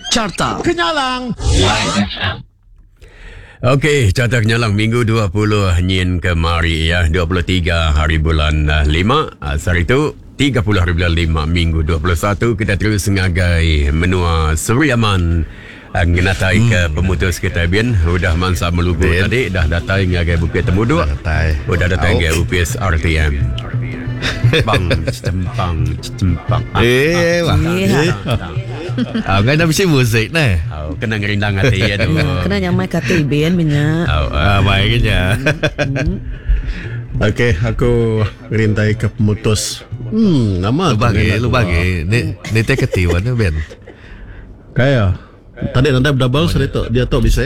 Carta Kenyalang. Okey, carta kenyalang minggu 20 nyin kemari ya, 23 hari bulan 5 sehari tu 30 hari bulan 5 minggu 21 kita terus ngagai menua Seri Aman ngenatai ke pemutus kita bin udah mansa melugu Bin. tadi dah datai ngagai Bukit Temuduk. Dah datai. Udah datai Au. ngagai upis RTM. Bang cempang cempang. Eh, wah. Iya. Ah, ngai dah bisi muzik neh. Oh, kena ngerindang hati ya tu. Kena nyamai kati bin minyak. Oh, Ah, baik nya. Okey, aku ngerintai ke pemutus. Nama Lu bagi, lu bagi. Ni ni teh ketiwan ni Ben. Kaya. Tadi nanti double seri tu, dia tu bisa.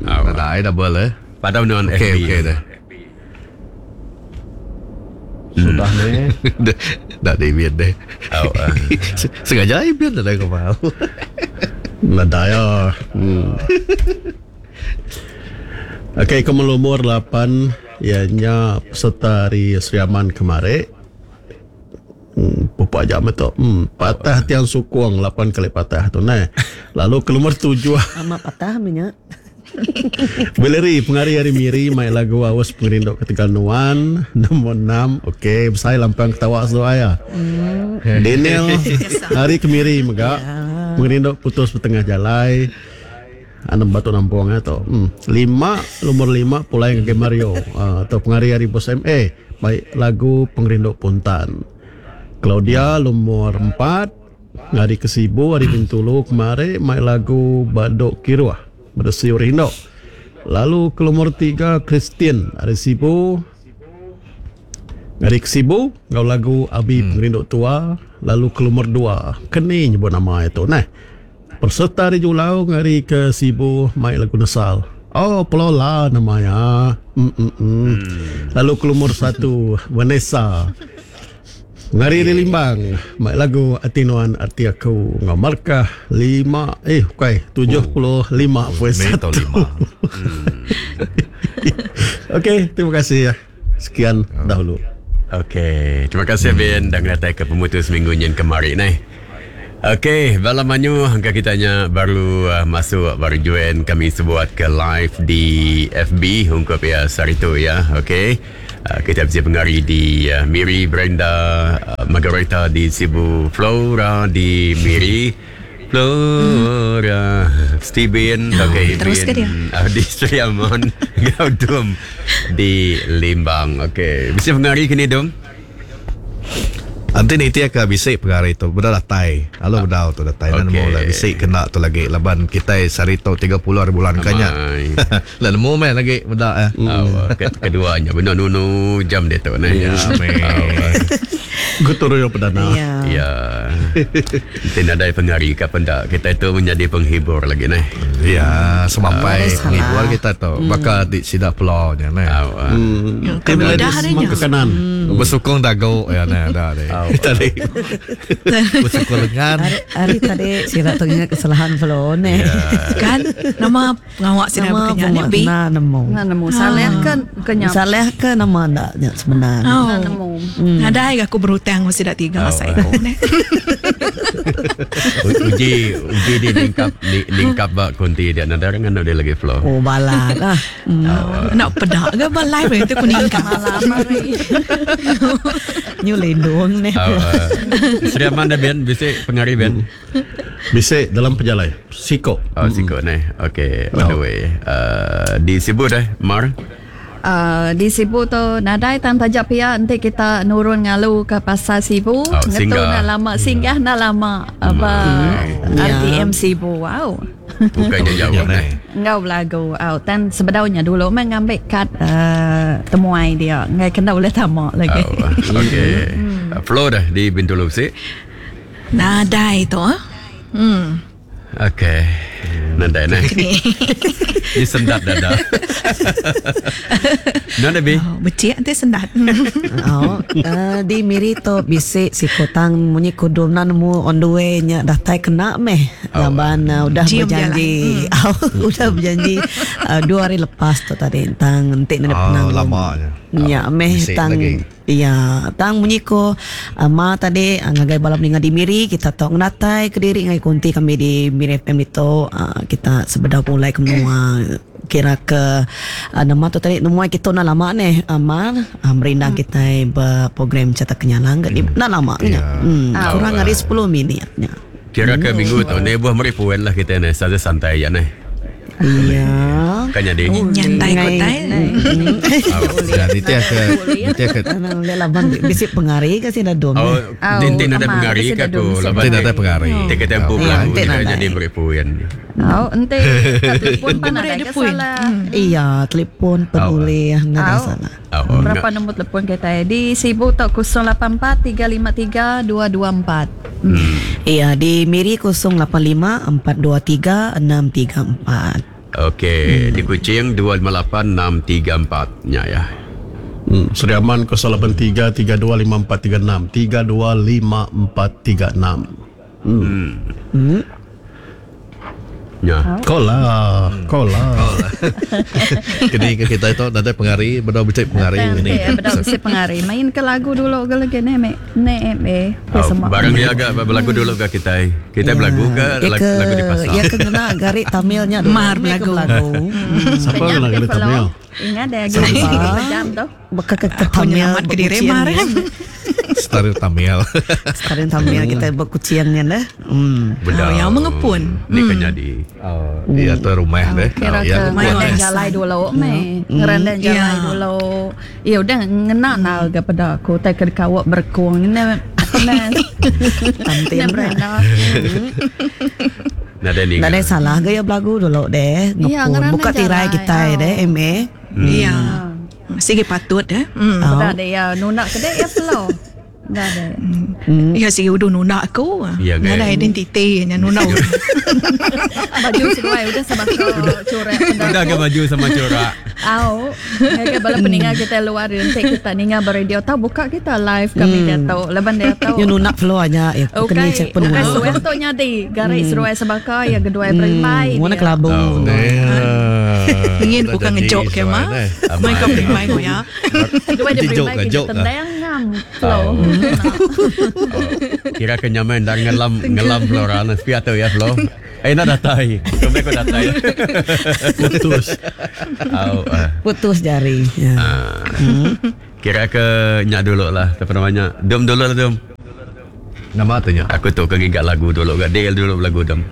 Oh. Dah double eh. Pada non Okey, FB. okey dah. Sudah ni. Dah dah di Ben deh. Oh, ah. Sengaja ai Ben dah kau mau. Nadai ya. Okey, ke nomor 8 ianya peserta hari Sri Aman kemarin. Pupuk aja betul. Patah tiang sukung 8 kali patah tu nah. Lalu ke nomor 7 Amat patah minyak. Valerie pengari hari Miri mai lagu Awas Pengerindu Ketegal Nuan nombor 6. Okey, besai lampang ketawa seduai ya. Daniel hari kemiri mega pengerindu putus petengah jalai. Anak batu nampung ya tu. Lima nomor 5 pulai ke Mario atau pengari hari Bos MA baik lagu Pengerindu Puntan. Claudia nomor 4 hari ke Sibu hari Bintulu kemari mai lagu Badok Kiruah Bersiur Hindok. Lalu ke nomor 3 Christian hari Sibu hari ke Sibu ngau lagu Abi Pengerindu Tua. Lalu ke nomor 2 Keni nyebut nama itu nah. Peserta hari Julau hari ke Sibu mai lagu Nesal. Oh, Pelola namanya. Lalu ke nomor 1 Vanessa. Ngari di Limbang, mai lagu Ati Nuan Arti Aku ngau markah 5 eh bukan 75.1. Meter lima. Okey, terima kasih ya. Sekian dahulu. Okey, terima kasih Ben dan datang ke pemutus minggu nyin kemarin ni. Okey, bala manyu angka kitanya baru masuk baru join kami sebuat ke live di FB ungkup ya sehari tu ya. Okey. Kita bisa pengari di Miri Brenda, Margareta di Sibu, Flora di Miri. Flora, Steven, okey, terus ke dia? Di Sri Aman, Gau Dum di Limbang. Okey, bisa pengari kini Dum? Nanti ni tia ke bisik pengari tu Benda datai. Halo benda tu datai. Dan Okey. nemu lah bisik kena tu lagi. Laban kita sehari tu 30 hari bulan kanya. Amai. Lah nemu meh lagi benda eh. Oh, keduanya benar nunu jam dia tu nah. Ya, meh. Gotong perdana. Ya. Ya. Nanti nadai pengari ke pendak kita itu menjadi penghibur lagi nah. Ya, semampai Harus salah. penghibur kita tu. Bakal di sidak pulau nya nah. Oh, ah. Tim Kami dah ladies harinya. ke kanan. Bersukung dago ya nah dah deh. Tadi. Bersukung lengan. Hari, hari tadi sila tu ingat kesalahan Flo ni. Kan nama pengawak sini Nama berkenyak ni pengawak B. na nemu. Nah, nemu salah kan kenyap. Salah ke nama ndak nya sebenarnya. Oh. Nah, nemu. Nadai aku berhutang mesti dak tiga Oh. saya ko ne. Uji uji di lingkap di, lingkap bak kunti dia nadai dengan dia lagi flow. Oh balat ah. Nak pedak ke ba live itu kuning kan. Malam hari. Nyu lindung ni. Oh, Sri Aman dah Ben, bisik pengari Ben. Bisik dalam perjalanan. Siko. Oh, sikut ni. Okey, on the way. Di Sibu dah, Mar. Di Sibu tu nadai tan tajak pia nanti kita nurun ngalu ke pasar Sibu. Oh, Ngetu singgah. nak lama singgah nak lama apa RTM Sibu. Wow. Bukannya jauh Ya, ni. neh. Ngau belagu au tan sebedaunya dulu memang ngambil kad temuai dia. Ngai kena boleh tamak lagi. Oh, okey. Flow dah di Bintulu sik. Nadai tu ah. Okey. Nadai ni. Ni sendat dada. Nada bi. Oh, becik nanti sendat. Oh, di Miri tu bisik si kotang munyi kudum na nemu on the way nya datai kena meh. Laban udah Cium berjanji. Oh, udah berjanji 2 hari lepas tu tadi tentang entik na Oh, penang. lamanya. Nya meh Bisik tang lagi. Iya, tang munyi ko ma tadi ngagai bala peninga di Miri kita tau ngenatai kediri ngagai konti kami di Miri FM ditu kita sebedau pulai ke menua kira ke nama tu tadi nemuai kitu enda lama neh mar merindang kitai ba program Chata Kenyalang ga enda lama nya kurang ari sepuluh minit nya. Kira ke minggu tu neh buah meri puen lah kitai neh santai-santai aja neh. Iya. Kan nyadi. Nyantai ko tai. Ya, nitih ke nitih ke Ulih laban bisi pengari ke sida dom. Oh, enti nadai pengari ke aku laban enti nadai pengari. Enti kita empu belagu kita jadi meri puin. Au, enti ka telefon pan nadai ke salah. Iya, telefon pan ulih nadai salah. Berapa nombor telefon kitai di Sibu tu 084 353 224. Iya, di Miri 085 423 634. Okey, di Kuching 258 634 nya ya. Sri Aman 083 32 5436 32 5436. Nya. Kau lah, kau lah. Kini ke kita itu nadai pengari, bedau bisi pengari ini. Bedau bisi pengari. Main ke lagu dulu ke lagi ne me ne me. Oh, barang dia agak belagu dulu ke kita. Kita belagu ke lagu di pasar. Ya ke kena gari Tamil nya dulu. Mar belagu. Siapa kena gari Tamil? Ingat dia lagi jam tu. Baka ke Tamil ke diri mar. Setara Tamil. Setara Tamil kita berkucian nya dah. Bedau. Yang mengepun. Ni kan jadi. Iya tu rumah deh. Kira ke ngerandang jalai dulu meh. Ngerandang jalai dulu. Ya udah ngena nal ke peda aku tai ke kawak berkung ne. Tantin. Nadai Nadai salah gaya belagu dulu deh. Ngepun. Buka tirai kita deh MA. Iya. Sigi patut eh. Dah deh ya nuna ke deh ya flow. Dah deh. Ya sigi udah nuna aku. Nadai identiti nya nuna. Baju seduai udah sama corak. Udah ke baju sama corak. Au. Ngagai bala peninga kita luar nanti kita ninga beradio tau buka kita live kami dia tau. Laban dia tau. Nya nuna flow aja ya. Kena cek penuh. Bukan suai tu nyadi garik seruai sebaka ya geduai berimbai. Warna kelabu. Ingin bukan ngejok ke mah. Main kau berimbai ko ya. Dua dia berimbai kita tendang ngam flow. Kira ke nyaman dah ngelam ngelam Flora nah sepi atau ya flow. Eh nak datai. Kau kau datai. Putus. Putus jari. Ya. Kira ke nyak dulu lah apa namanya. Dom dulu lah dom. Nama tu nya. Aku tu ke ngiga lagu dulu gak dia dulu lagu dom.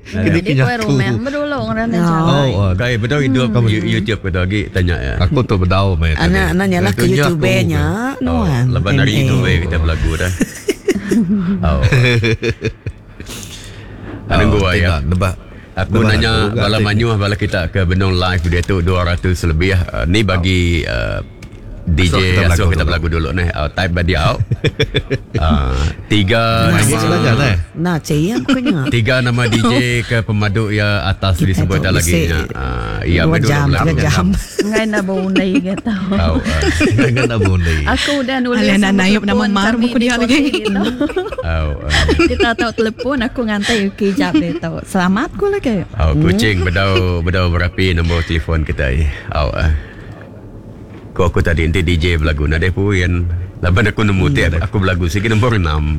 Kini Di kue rumah dulu orang Oh, oh. Kai betul hidup kamu YouTube ke lagi tanya ya. Aku tu bedau meh. Anak anak nyalah ke YouTube nya. Oh, lepas dari itu we kita belagu dah. Oh. Nunggu ya. Aku nanya bala manyuh bala kita ke benung live dia tu 200 lebih. Ni bagi DJ asuh kita belagu dulu ni. Type badi out. Tiga nama. Nah, cik ya Tiga nama DJ ke pemadu ya atas disebut dah lagi nya. Ya 2 jam, 3 jam. Ngai nak bundai gitu. Ngai nak bundai. Aku udah nulis. Alah nak nama mar buku dia lagi. Kita tahu telefon aku ngantai kejap dia tahu. Selamat ku lagi. Oh, kucing bedau bedau berapi nombor telefon kita. Oh. Ko aku tadi nanti DJ belagu nadai puin. Laban aku nemu tiap aku belagu sikit nombor 6.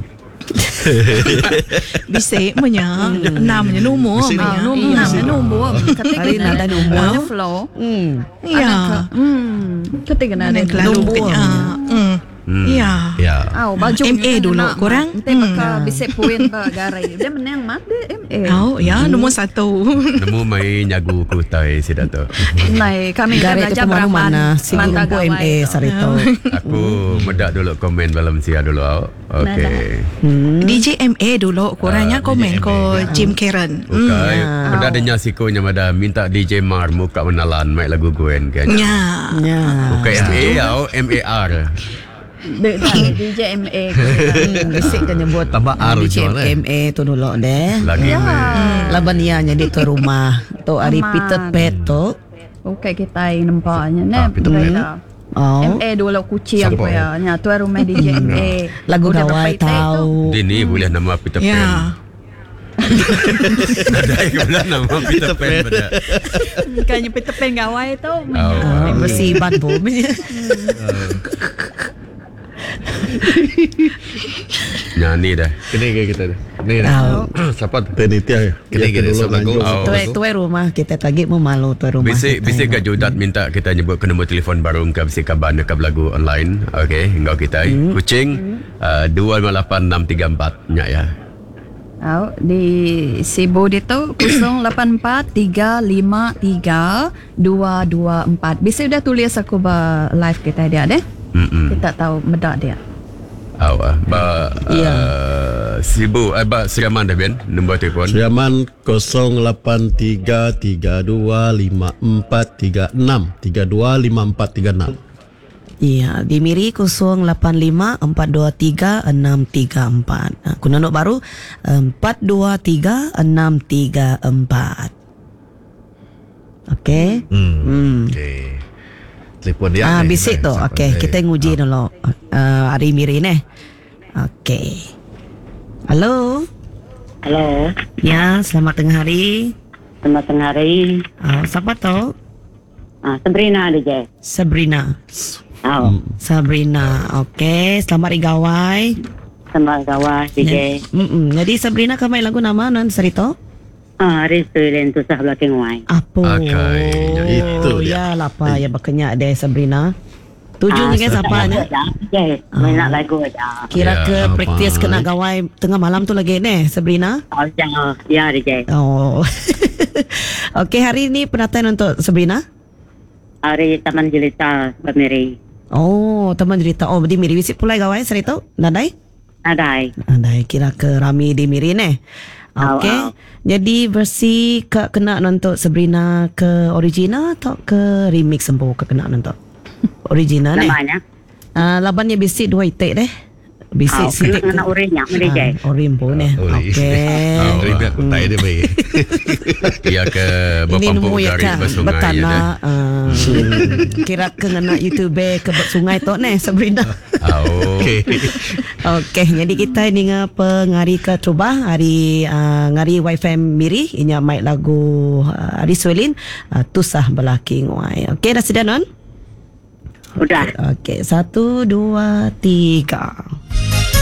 Bisik punya 6 nya nombor. Nombor nombor. Hari nadai nombor. Flow. Ya. Ketika nadai nombor. Ya. Ya. Oh, baju MA dulu korang. Nanti maka bisik puin ba garai. Dia menang mat dia MA. Oh, ya nombor 1. Nemu main nyagu ku tai sida tu. Nai kami garai belajar tu berapa mana sigi umpu MA sarito. Aku medak dulu komen dalam sia dulu. Okey. DJ MA dulu korangnya komen ko Jim Karen. Okey. Benda dia siko nya mada minta DJ Mar muka menalan mai lagu Gwen kan. Ya. Ya. Bukan MA atau MAR. DJ MA. Bisik kan nyebut tambah R DJ MA tu dulu deh. Lagi Laban ia jadi tu rumah tu hari Peter Pan tu. Okey kita nampaknya ne. Peter Pan. Oh. MA dulu kucing apa ya. Nya tu rumah DJ MA. Lagu gawai tahu. Dia ni boleh nama Peter Pan. Nadai ke belah nama Peter Pan pada. Bukannya Peter Pan gawai tu. Oh. Versi Iban pun. Nyanyi dah. Kini ke kita ni. Ni dah. Siapa tu? Penitia. Kini Ya, kita dulu siap lagu. lanjut. Oh. Tuai tuai rumah kita tagi mau malu tuai rumah. Bisi kita. bisi ke Judat minta kita nyebut ke nombor telefon baru ke bisi kaban dekat lagu online. Okey, enggau kita. Kuching 258634 nya ya. Au, di Sibu ditu 084 353 224. Bisa udah tulis aku ba live kita dia deh. Mm-mm. Kita tahu medak dia. Aw, ah. ba Ya. Sibu ba Seraman dah ben nombor telefon. Sriaman 083325436 325436. Ya, di Miri 085 423 634. Aku nonok baru 423 634. Okey. Okey. Telefon dia. Ah, ni, bisik ni, tu. siapa Okey, ni? kita nguji dulu. Hari Miri ni. Okey. Halo. Halo, Ya, selamat tengah hari. selamat tengah hari. Siapa tu? Ah, Sabrina ada je. Sabrina. Oh, Sabrina. Okey, selamat hari gawai. selamat gawai DJ. Mm-mm. Jadi Sabrina kau main lagu nama non serito? Ah, hari tu tusah belakang wai. Apa? Akai, itu dia. Ya lapa ya berkenyak deh Sabrina. Tuju Ah, dengan siapa nya? Je, main nak lagu aja. Kira Ya, ke apa. praktis kena gawai tengah malam tu lagi ne Sabrina? Oh, ya, ya DJ. Oh. Okey, hari ni pendataan untuk Sabrina? Hari Taman Jelita Pemiri. Oh, teman cerita. Oh, di Miri wisip pulai gawai serito? Nadai? Nadai. Nadai kira ke rami di Miri ne. Au, Okey. au. Jadi versi ke kena nonton Sabrina ke original atau ke remix sempu ke kena nonton? Original ne. Namanya. Labannya bisik dua itik deh. Bisik Ah, sitik kena orinya, meri je. Ah, orim pun eh. Ori. Okey. Ah, Ori biar aku tai dia baik. Ya ke Ini berpampuk nemu ya garis kan bersungai ya Bertanah deh. Kira ke ngena YouTube ke sungai tu ne Sabrina. Oh. Okey. Okey, jadi kita ni nga pengari ke Trubah hari ngari YFM Miri inya mai lagu Ari Suelin Tusah Belaki Nguai. Okey, dah sedia non? Udah. Okey, 1 2 3.